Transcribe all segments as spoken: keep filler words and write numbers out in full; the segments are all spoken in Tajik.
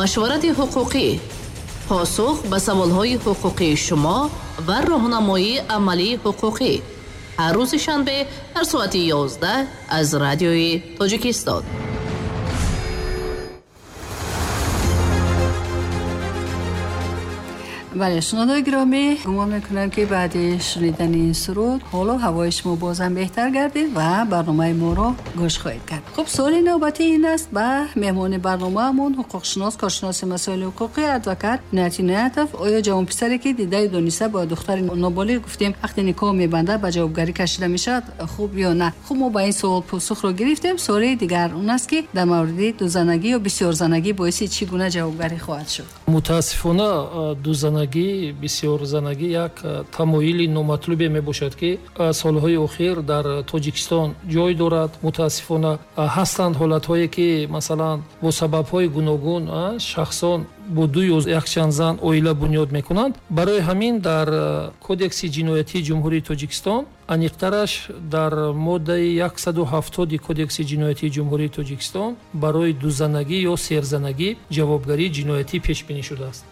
Машварати ҳуқуқӣ, посух ба саволҳои ҳуқуқии шумо ва роҳнамоии амалии ҳуқуқӣ ҳар рӯзи шанбе дар соати ёздаҳ аз радиои Тоҷикистон. Бале, шунавандагони гиромӣ, гумон мекунам, ки баъди шунидани ин суруд ҳоло ҳавои шумо бозам беҳтар гардид ва барномаи моро гӯш хоҳед кард. Хуб, суоли навбатӣ ин аст ба меҳмони барномаамон, ҳуқуқшинос, коршиноси масоили ҳуқуқӣ, адвокат Иноят Иноятов. Оё ҷавонписаре, ки дидаю дониста бо духтари ноболиғ гуфтем ақди никоҳ мебандад, ба ҷавобгарӣ кашида мешавад, хуб ё на? Хуб, мо ба ин суол посухро гирифтем. Суоли дигар он аст, ки дар мавриди дузанагӣ ё бисёрзанагӣ боиси чӣ гуна ҷавобгарӣ хоҳад шуд? Мутаассифона, дузанагӣ, бисёрзанагӣ як тамоили номатлубе мебошад, ки солҳои охир дар Тоҷикистон ҷой дорад. Мутаассифона, ҳастанд ҳолатҳое, ки масалан бо сабабҳои гуногун шахсон бо ду ё якчанд зан оила бунёд мекунанд. Барои ҳамин дар Кодекси ҷиноятии Ҷумҳурии Тоҷикистон, аниқтараш дар моддаи яксаду ҳафтоди Кодекси ҷиноятии Ҷумҳурии Тоҷикистон, барои дузанагӣ ё серзанагӣ ҷавобгарии ҷиноятӣ пешбинӣ шудааст.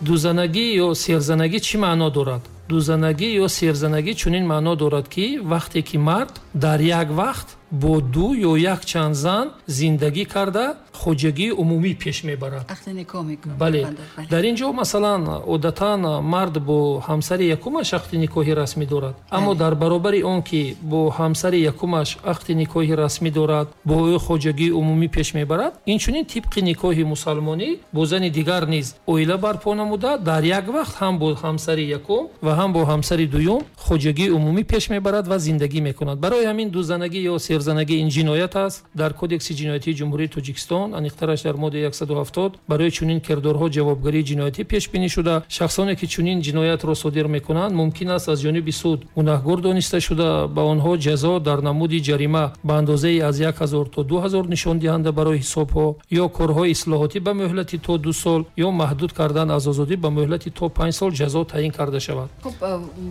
Дузанагӣ ё серзанагӣ чӣ маъно дорад? Дузанагӣ ё серзанагӣ чунин маъно дорад, ки вақте ки мард дар як вақт бо ду ё якчанд зан зиндагӣ карда хоҷагии умумӣ пеш мебарад. Ақди никоҳ мекунад. Бале. Дар ин ҷо масалан одатан мард бо ҳамсари якумаш ақди никоҳи расмӣ дорад, аммо дар баробари он ки бо ҳамсари якумаш ақди никоҳи расмӣ дорад, бо ӯ хоҷагии умумӣ пеш мебарад, инчунин тибқи никоҳи мусалмонӣ бо зани дигар низ оила барпо намуда, дар як вақт ҳам бо ҳамсари якум ва ҳам бо ҳамсари дуюм хоҷагии умумӣ пеш мебарад ва зиндагӣ мекунад. Барои ҳамин дузанагӣ ё серзанагӣ ин ҷиноят аст. Дар Кодекси ҷиноятии Ҷумҳурии Тоҷикистон, аниқтараш дар моддаи яксаду ҳафтод, барои чунин кирдорҳо ҷавобгарии ҷиноятӣ пешбинӣ шуда, шахсоне ки чунин ҷиноятро содир мекунанд, мумкин аст аз ҷониби суд гунаҳгор дониста шуда, ба онҳо ҷазо дар намуди ҷарима ба андозаи аз як ҳазор то ду ҳазор нишондиҳанда барои ҳисобҳо ё корҳои ислоҳотӣ ба муҳлати то ду сол ё маҳдуд кардан аз озодӣ ба муҳлати то панҷ сол ҷазо таъин карда шавад. Хуб,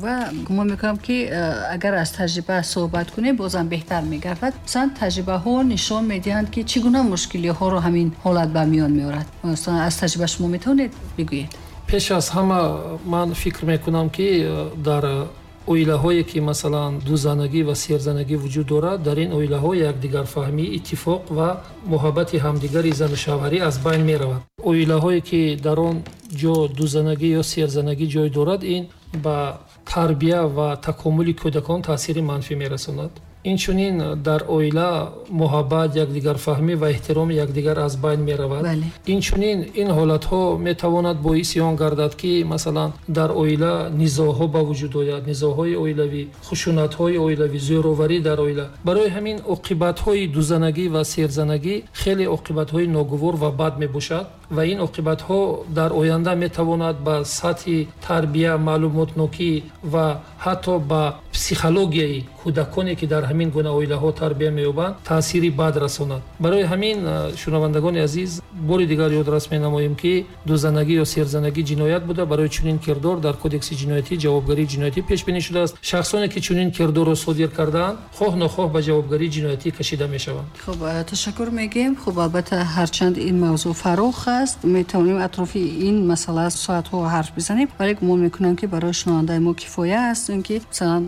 ва гумон мекунам, ки агар аз таҷриба суҳбат кунем, бозам беҳтар мегардад. Масалан, таҷрибаҳо нишон медиҳанд, ки чӣ гуна мушкилиҳоро ҳамин ҳолат ба миён меорад. Масалан, аз таҷриба шумо метавонед бигӯед? Пеш аз ҳама ман фикр мекунам, ки дар оилаҳое ки масалан дузанагӣ ва серзанагӣ вуҷуд дорад, дар ин оилаҳо якдигарфаҳмӣ, иттифоқ ва муҳаббати ҳамдигари зану шавҳарӣ аз байн меравад. Оилаҳое ки дар он ҷо дузанагӣ ё серзанагӣ ҷой дорад, ин ба тарбия ва такомули кӯдакон таъсири манфӣ мерасонад. Инчунин дар оила муҳаббат, якдигарфаҳмӣ ва эҳтироми якдигар аз байн меравад. Инчунин ин ҳолатҳо метавонад боиси он гардад, ки масалан дар оила низоъҳо ба вуҷуд ояд, низоъҳои оилавӣ, хушунатҳои оилавӣ, зӯроварӣ дар оила. Барои ҳамин оқибатҳои дузанагӣ ва серзанагӣ хеле оқибатҳои ногувор ва бад мебошад ва ин оқибатҳо дар оянда метавонад ба сатҳи тарбия, маълумотнокӣ ва ҳатто ба психологияи кӯдаконе, ки дар ҳамин гуна оилаҳо тарбия меёбанд, таъсири бад расонад. Барои ҳамин, шунавандагони азиз, бори дигар ёдрас менамоем, ки дузанагӣ ё серзанагӣ ҷиноят буда, барои чунин кирдор дар Кодекси ҷиноятӣ ҷавобгарии ҷиноятӣ пешбинӣ шудааст. Шахсоне ки чунин кирдорро содир кардаанд, хоҳ нохоҳ ба ҷавобгарии ҷиноятӣ кашида мешаванд. Хуб, ташаккур мегӯем. Хуб, албатта, ҳарчанд ин мавзӯъ фарох аст, метавонем атрофи ин масъала соатҳо ҳарф бизанем, вале гумон мекунам, ки барои шунавандаи мо кифоя аст, ки масалан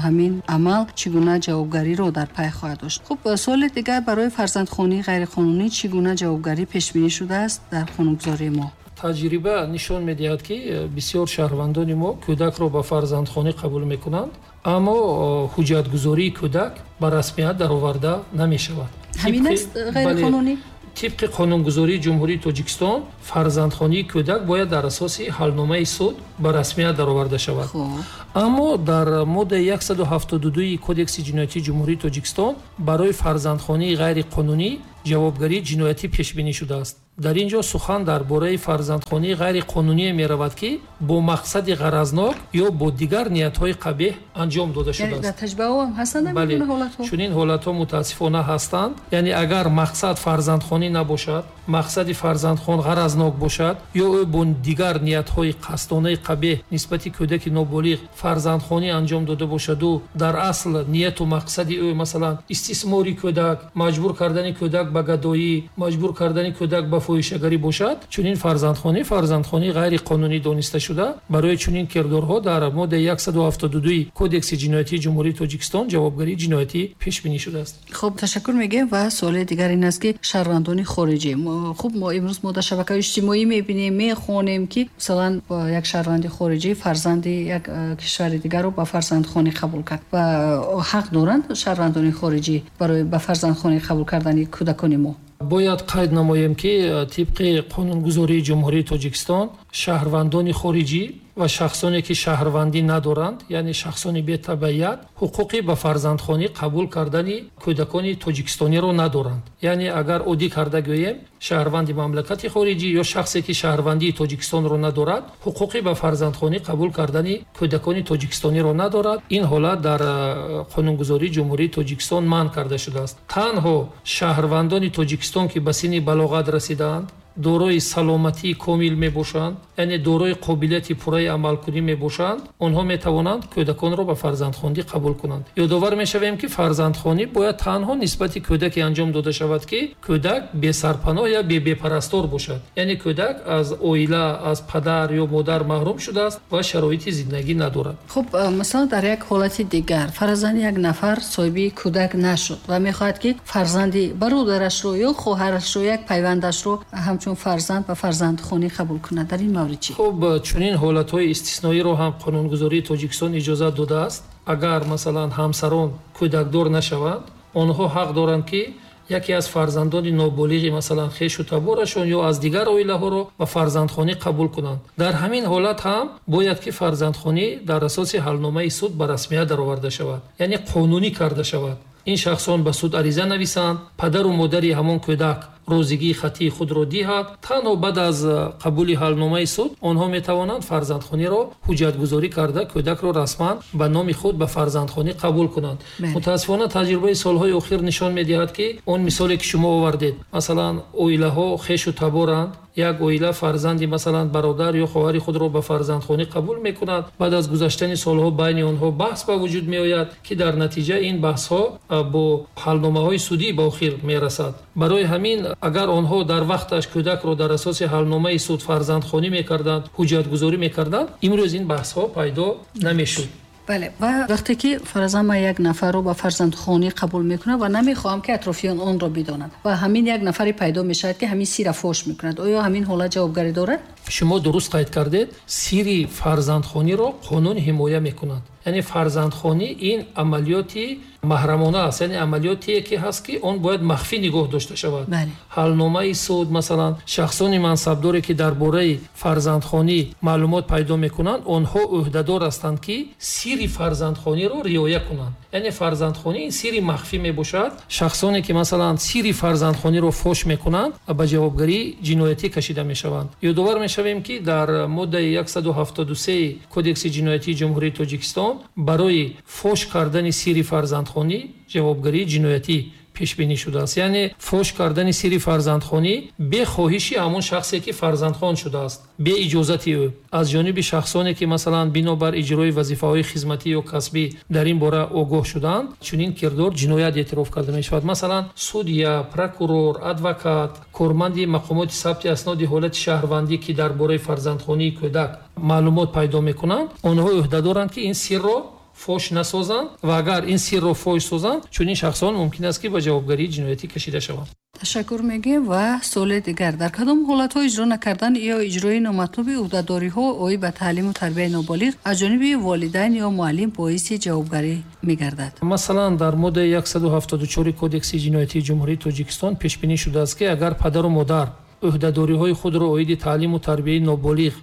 ҳамин амал чӣ гуна ҷавобгариро дар пай хоҳад дошт. Хуб, суоли дигар барои фарзандхонии ғайриқонунӣ чӣ гуна ҷавобгарӣ пешбинӣ шудааст дар қонунгузории мо? Таҷриба нишон медиҳад, ки бисёр шаҳрвандони мо кӯдакро ба фарзандхонӣ қабул мекунанд, аммо ҳуҷҷатгузории кӯдак ба расмият дароварда намешавад. Ҳамин аст ғайриқонунӣ? Тибқи қонунгузории Ҷумҳурии Тоҷикистон фарзандхонии кӯдак бояд дар асоси ҳалномаи суд ба расмият дароварда шавад. Аммо дар моддаи яксаду ҳафтоду дуи Кодекси ҷиноятии Ҷумҳурии Тоҷикистон барои фарзандхонии ғайриқонунӣ ҷавобгарии ҷиноятӣ пешбинӣ шудааст. Дар ин ҷо сухан дар бораи фарзандхонии ғайриқонуние меравад, ки бо мақсади ғаразнок ё бо дигар ниятҳои қабеҳ анҷом дода шудааст. Дар таҷрибаҳо ҳам ҳастанд ҳамин гуна ҳолатҳо? Чунин ҳолатҳо мутаассифона ҳастанд. Яъне агар мақсад фарзандхонӣ набошад, мақсади фарзандхон ғаразнок бошад ё ӯ бо дигар ниятҳои қасдонаи қабеҳ нисбати кӯдаки ноболиғ фарзандхонӣ анҷом дода бошаду дар асл нияту мақсади ӯ масалан истисмори кӯдак, маҷбур кардани кӯдак ба гадоӣ, маҷбур кардани кӯдак ба фоҳишагарӣ бошад, чунин фарзандхонӣ фарзандхонии ғайриқонунӣ дониста шуда, барои чунин кирдорҳо дар моддаи яксаду ҳафтоду ду Кодекси ҷиноятии Ҷумҳурии Тоҷикистон ҷавобгарии ҷиноятӣ пешбинӣ шудааст. Хуб, ташаккур мегӯем ва суоли дигар ин аст, ки шаҳрвандони хориҷӣ, хуб, мо имрӯз мо дар шабакаҳои иҷтимоӣ мебинем, мехонем, ки масалан як шаҳрванди хориҷӣ фарзанди як кишвари дигарро ба фарзандхонӣ қабул кард ва ҳақ доранд шаҳрвандони хориҷӣ барои ба фарзандхонӣ қабул кардани кӯдакони мо? Бояд қайд намоем, ки тибқи қонунгузории Ҷумҳурии Тоҷикистон шаҳрвандони хориҷӣ ва шахсоне, ки шаҳрвандӣ надоранд, яъне шахсони бетабаият, ҳуқуқи ба фарзандхонӣ қабул кардани кӯдакони тоҷикистониро надоранд. Яъне агар оддӣ карда гӯем, шаҳрванди мамлакати хориҷӣ ё шахсе, ки шаҳрвандии Тоҷикистонро надорад, ҳуқуқи ба фарзандхонӣ қабул кардани кӯдакони тоҷикистониро надорад. Ин ҳолат дар қонунгузории Ҷумҳурии Тоҷикистон манъ карда шудааст. Танҳо шаҳрвандони Тоҷикистон, ки ба синни балоғат расидаанд, дорои саломатии комил мебошанд, яъне дорои қобилияти пурраи амалкунӣ мебошанд, онҳо метавонанд кӯдаконро ба фарзандхондӣ қабул кунанд. Ёдовар мешавем, ки фарзандхонӣ бояд танҳо нисбати кӯдаке анҷом дода шавад, ки кӯдак бесарпаноҳ ё бепарастор бошад, яъне кӯдак аз оила, аз падар ё модар маҳрум шудааст ва шароити зиндагӣ надорад. Хуб, масалан дар як ҳолати дигар фарзанди як нафар соҳиби кӯдак нашуд ва мехоҳад, ки фарзанди бародарашро ё хоҳарашро, як пайвандашро ҳамчун фарзанд ба фарзандхонӣ қабул кунад, дар ин маврид чӣ? Хуб, чунин ҳолатҳои истисноиро ҳам қонунгузории Тоҷикистон иҷозат додааст. Агар масалан ҳамсарон кӯдакдор нашаванд, онҳо ҳақ доранд, ки яке аз фарзандони ноболиғи масалан хешу таборашон ё аз дигар оилаҳоро ба фарзандхонӣ қабул кунанд. Дар ҳамин ҳолат ҳам бояд, ки фарзандхонӣ дар асоси ҳалномаи суд ба расмият дароварда шавад, яъне қонунӣ карда шавад. Ин шахсон ба суд ариза нависанд, падару модари ҳамон кӯдак розигии хаттии худро диҳад. Танҳо баъд аз қабули ҳалномаи суд онҳо метавонанд фарзандхониро ҳуҷҷатгузорӣ карда кӯдакро расман ба номи худ ба фарзандхонӣ қабул кунанд. Мутаассифона таҷрибаи солҳои охир нишон медиҳад, ки он мисоле, ки шумо овардед, масалан оилаҳо хешу таборанд, як оила фарзанди масалан бародар ё хоҳари худро ба фарзандхонӣ қабул мекунад, баъд аз гузаштани солҳо байни онҳо баҳс ба вуҷуд меояд, ки дар натиҷа ин баҳсҳо бо ҳалномаҳои судӣ ба охир мерасад. Барои ҳамин агар онҳо дар вақташ кӯдакро дар асоси ҳалномаи суд фарзандхонӣ мекарданд, ҳуҷҷатгузорӣ мекарданд, имрӯз ин баҳсҳо пайдо намешуд. Бале, ва вақте ки фарзанд ман як нафарро ба фарзандхонӣ қабул мекунам ва намехоҳам, ки атрофиён онро бидонанд ва ҳамин як нафаре пайдо мешавад, ки ҳамин сирро фош мекунад, оё ҳамин ҳолат ҷавобгарӣ дорад? Шумо дуруст қайд кардед, сири фарзандхониро қонун ҳимоя мекунад. Яъне фарзандхонӣ ин амалиёти маҳрамона аст, яъне амалиётие, ки ҳаст, ки он бояд махфӣ нигоҳ дошта шавад. Ҳалномаи суд, масалан шахсони мансабдоре, ки дар бораи фарзандхонӣ маълумот пайдо мекунанд, онҳо ӯҳдадор ҳастанд, ки сири фарзандхониро риоя кунанд. Яъне фарзандхонӣ ин сири махфӣ мебошад. Шахсоне, ки масалан сири фарзандхониро фош мекунанд, ба ҷавобгарии ҷиноятӣ кашида мешаванд. Ёдовар мешавем, ки дар моддаи яксаду ҳафтоду се Кодекси ҷиноятии Ҷумҳурии Тоҷикистон барои фош кардани сири фарзандхонӣ ҷавобгарии ҷиноятӣ пешбинӣ шудааст. Яъне фош кардани сири фарзандхонӣ бе хоҳиши ҳамон шахсе, ки фарзандхон шудааст, бе иҷозати ӯ, аз ҷониби шахсоне, ки масалан бинобар иҷрои вазифаҳои хизматӣ ё касбӣ дар ин бора огоҳ шуданд, чунин кирдор ҷиноят эътироф карда мешавад. Масалан судя, прокурор, адвокат, корманди мақомоти сабти асноди ҳолати шаҳрвандӣ, ки дар бораи фарзандхонии кӯдак маълумот пайдо мекунанд, онҳо ӯҳдадоранд, ки ин сирро фош насозанд ва агар ин сирро фош созанд, чунин шахсон мумкин аст, ки ба ҷавобгарии ҷиноятӣ кашида шаванд. Ташаккур мегӯем ва суоли дигар: дар кадом ҳолатҳо иҷро накардан ё иҷрои номатлуби ӯҳдадориҳо оид ба таълиму тарбияи ноболиғ аз ҷониби волидайн ё муаллим боиси ҷавобгарӣ мегардад? Масалан дар моддаи яксаду ҳафтоду чор Кодекси ҷиноятии Ҷумҳурии Тоҷикистон пешбинӣ шудааст, ки агар падару модар ӯҳдадориҳои худро оиди таълиму тарбияи ноболиғ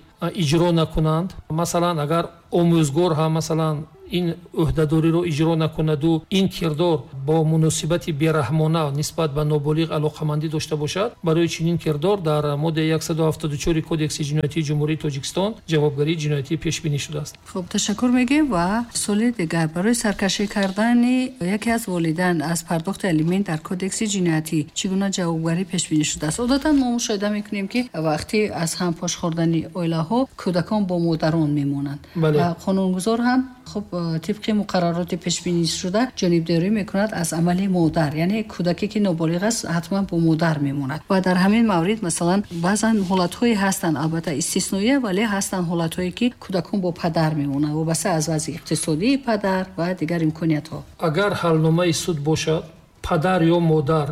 иҷро накунанд, масалан агар омӯзгор ҳам масалан ин ӯҳдадориро иҷро накунаду ин кирдор бо муносибати бераҳмона нисбат ба ноболиғ алоқамандӣ дошта бошад, барои чунин кирдор дар моддаи яксаду ҳафтоду чор Кодекси ҷиноятии Ҷумҳурии Тоҷикистон ҷавобгарии ҷиноятӣ пешбинӣ шудааст. Хуб, ташаккур мегӯем ва суоли дигар: барои саркашӣ кардани яке аз волидайн аз пардохти алимент дар Кодекси ҷиноятӣ чӣ гуна ҷавобгарӣ пешбинӣ шудааст? Одатан мо мушоҳида мекунем, ки вақте аз ҳам пош хӯрдани оилаҳо кӯдакон бо модарон мемонанд ва қонунгузор ҳам Хуб, тибқи муқаррароти пешбинишуда ҷонибдорӣ мекунад аз амали модар, яъне кӯдаке ки ноболиғ аст ҳатман бо модар мемонад. Ва дар ҳамин маврид масалан баъзан ҳолатҳое ҳастанд, албатта истисноия, вале ҳастанд ҳолатҳое ки кӯдакон бо падар мемонанд вобаста аз вазъи иқтисодии падар ва дигар имкониятҳо. Агар ҳалномаи суд бошад, падар ё модар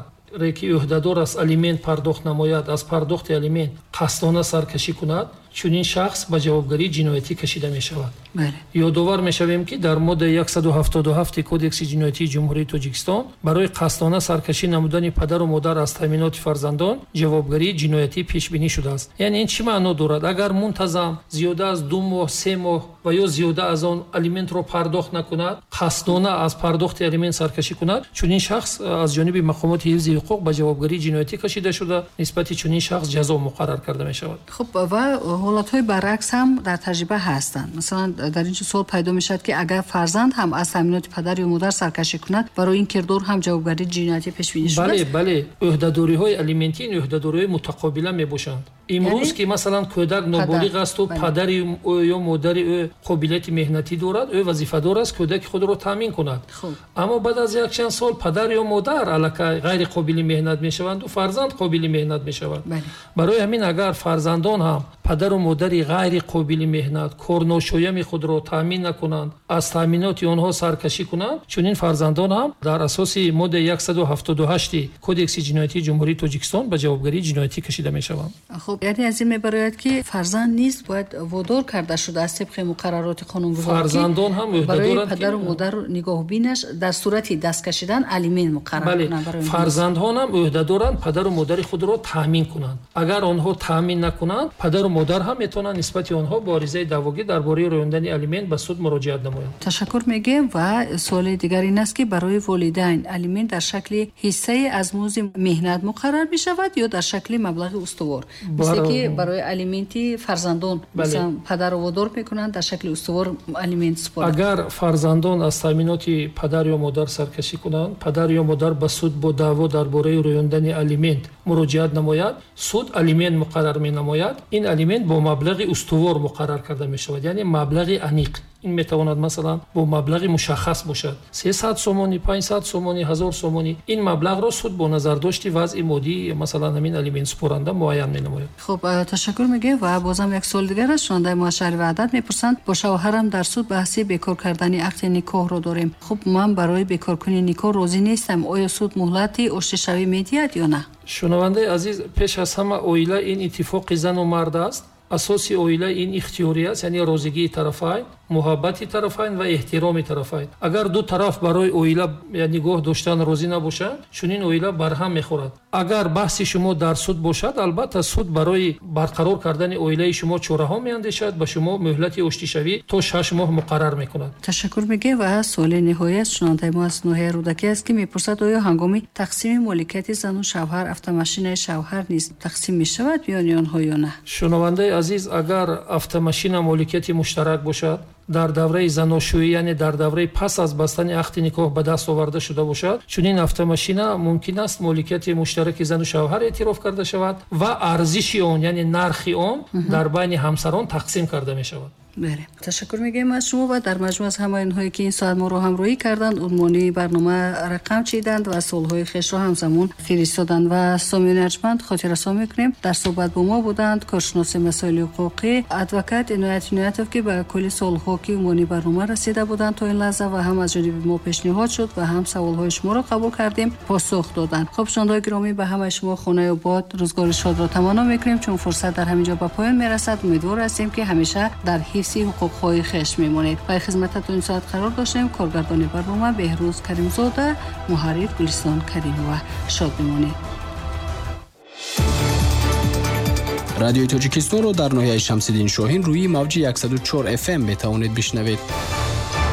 ки ӯҳдадор аст алимент пардохт намояд, аз пардохти алимент қасдона саркашӣ кунад, чунин шахс ба ҷавобгарии ҷиноятӣ кашида мешавад. Ёдовар мешавем, ки дар моддаи яксаду ҳафтоду ҳафти Кодекси ҷиноятии Ҷумҳурии Тоҷикистон барои қасдона саркашӣ намудани падару модар аз таъминоти фарзандон ҷавобгарии ҷиноятӣ пешбинӣ шудааст. Яъне ин чӣ маъно дорад? Агар мунтазам зиёда аз ду моҳ, се моҳ ва ё зиёда аз он алиментро пардохт накунад, қасдона аз пардохти алимент саркашӣ кунад, чунин шахс аз ҷониби мақомоти ҳифзи ҳуқуқ ба ҷавобгарии ҷиноятӣ кашида шуда, нисбати чунин шахс ҷазо муқаррар карда мешавад. Хуб, ва ҳолатҳои баръакс ҳам дар таҷриба ҳастанд. Масалан, дар ин суол пайдо мешавад, ки агар фарзанд ҳам аз таъминоти падар ё модар саркашӣ кунад, барои ин кирдор ҳам ҷавобгарии ҷиноятӣ пешбинӣ шудааст? Бале, бале. Ӯҳдадориҳои алиментӣ ин ӯҳдадориҳои мутақобила мебошанд. Имрӯз ки масалан кӯдак ноболиғ аст ва падари ӯ ё модари ӯ қобилияти меҳнатӣ дорад, ӯ вазифадор аст кӯдаки худро таъмин кунад. Аммо баъд аз якчанд сол падар ё модар аллакай ғайриқобили меҳнат мешаванд ва фарзанд қобили меҳнат мешавад. Барои ҳамин агар фарзандон ҳам падару модари ғайриқобили меҳнат, корношоями худро таъмин накунанд, аз таъминоти онҳо саркашӣ кунанд, чунин фарзандон ҳам дар асоси моддаи яксаду ҳафтоду ҳашти Кодекси ҷиноятии Ҷумҳурии Тоҷикистон ба ҷавобгарии ҷиноятӣ кашида мешаванд. Хуб, яъне аз ин мебарояд, ки фарзанд низ бояд водор карда шудааст тибқи муқаррароти қонунгузорӣ, фарзандон ҳам барои падару модар нигоҳбинаш дар сурати даст кашидан алимент муқаррар кунанд. Бале, фарзандон ҳам ӯҳдадоранд падару модари худро таъмин кунанд. Агар онҳо таъмин накунанд, падару модар ҳам метавонанд нисбати онҳо бо аризаи даъвогӣ дар бораи рӯёндани алимент ба суд муроҷиат намоянд. Ташаккур мегӯем. Ва суоли дигар ин аст, ки барои волидайн алимент дар шакли ҳиссае аз музди меҳнат муқаррар мешавад ё дар шакли маблағи устувор? Мисле ки барои алименти фарзандон, масалан, падарро водор мекунанд дар шакли устувор алимент супорад. Агар фарзандон аз таъминоти падар ё модар саркашӣ кунанд, падар ё модар ба суд бо даъво дар бораи рӯёндани алимент муроҷиат намояд, суд алимент муқаррар менамояд. Ин алимент бо маблағи устувор муқаррар карда мешавад, яъне маблағи аниқ. Ин метавонад масалан бо маблағи мушаххас бошад, сесад сомонӣ, панҷсад сомонӣ, ҳазор сомонӣ. Ин маблағро суд бо назардошти вазъи моддии масалан ҳамин алиментсупоранда муайян менамояд. Хуб, ташаккур мегӯем. Ва бозам як суол дигар аст. Шунавандаи мо аз шаҳри Ваҳдат мепурсанд: бо шавҳарам дар суд баҳси бекор кардани ақди никоҳро дорем. Хуб, ман барои бекоркунии никоҳ розӣ нестам. Оё суд муҳлати оштишавӣ медиҳад ё на? Шунавандаи азиз, пеш аз ҳама оила ин иттифоқи зану мард аст. Асоси оила ин ихтиёрӣ аст, яъне розигии тарафайн, муҳаббати тарафайн ва эҳтироми тарафайн. Агар ду тараф барои оила нигоҳ доштан розӣ набошанд, чунин оила барҳам мехӯрад. Агар баҳси шумо дар суд бошад, албатта суд барои барқарор кардани оилаи шумо чораҳо меандешад, ба шумо муҳлати оштишавӣ то шаш моҳ муқаррар мекунад. Ташаккур мегӯем. Ва суоли ниҳоӣ аст. Шунавандаи мо аз ноҳияи Рӯдакӣ аст, ки мепурсад: оё ҳангоми тақсими моликияти зану шавҳар автомашинаи шавҳар низ тақсим мешавад миёни онҳо ё на? Шунавандаи азиз, агар автомашина моликияти муштарак бошад, дар давраи заношӯӣ, яъне дар давраи пас аз бастани ақди никоҳ ба даст оварда шуда бошад, чунин автомашина мумкин аст моликияти муштараки зану шавҳар эътироф карда шавад ва арзиши он, яъне нархи он дар байни ҳамсарон тақсим карда мешавад. Бале, ташаккур мегӯем аз шумо ва дар маҷмӯъ аз ҳамаи онҳое ки ин соат моро ҳамроҳӣ карданд, унвони барнома рақам чиданд ва суолҳои хешро ҳамзамон фиристоданд. Ва сомиёни арҷманд хотиррасон мекунем, дар суҳбат бо мо буданд коршиноси масоили ҳуқуқӣ адвокат Иноят Иноятов, ки ба кулли суолҳо ки унвони барнома расида буданд то ин лаҳза ва ҳам аз ҷониби мо пешниҳод шуд ва ҳам саволҳои шуморо қабул кардем, посух доданд. Хуб, шунавандагони гиромӣ, ба ҳамаи шумо хонаи обод, рӯзгори шодро таманно мекунем. Чун фурсат дар ҳамин ҷо ба поён мерасад, умедвор ҳастем ки ҳамеша дар ҳифзи ҳуқуқҳои хеш мемонед. Ба хизмататон ин соат қарор доштем. Коргардони барнома Беҳрӯз Каримзода, муҳаррир Гулистон Каримова. Шод бимонед. Радиои Тоҷикистонро дар ноҳияи Шамсиддин Шоҳин рӯи мавҷи яксаду чор эф эм метавонед бишнавед.